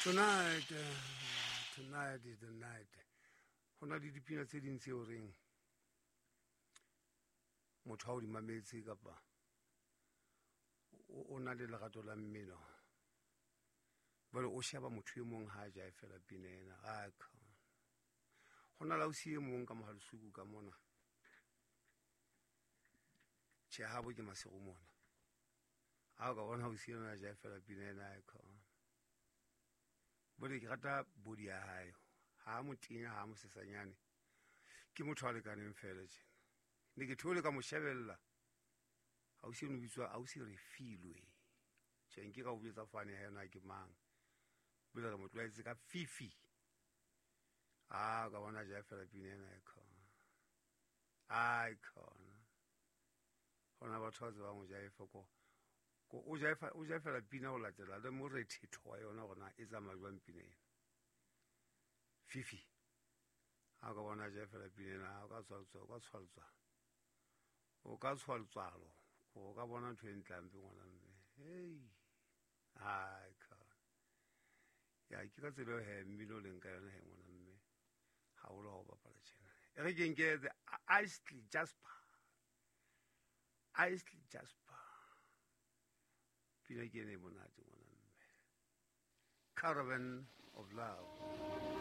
Tonight, tonight is the night. Ho na le dipina tse ding tseo reng motho ha o di mametse kapa o na le lerato la mmino, jwale o sheba motho e mong ha a jaefela pina ena. Ho na le ausi e mong ka Mohalesuku ka mona, tjhe habo ke Maseru mona, ha o ka bona ausi ena a jaefela pina ena, bole ke rata body ya hae, ha motenya ha mosesanyane, ke motho a lekaneng fela tjena. Ne ke theole ka mo shebella, ausi eno bitswa ausi Refilwe. Tjhe, nke ka o jwetsa fane ha yona ke mang, bole re mo tlwaetse ka Fifi. A ka bona jaefela pina ena e khona, ai khona hona batho ba tsebang ho jaefa ko o jaefa, o jaefela pina ho latela le morethetho wa yona hore na e tsamaya jwang pina ena. Fifi ha ka bona jaefela pina ena, o ka tshwaltswa, o ka tshwaltswa, o ka tshwaltswalo, o ka bona ntho e ntlampe ngwana mme. Hei, ai khona ya ke ka tsela he mmino o leng ka yona he ngwana mme, haholo ha o bapala tjena. E re ke nke the Isley Jasper, Isley Jasper, pina ke ene e monate ngwana mme, Caravan of Love.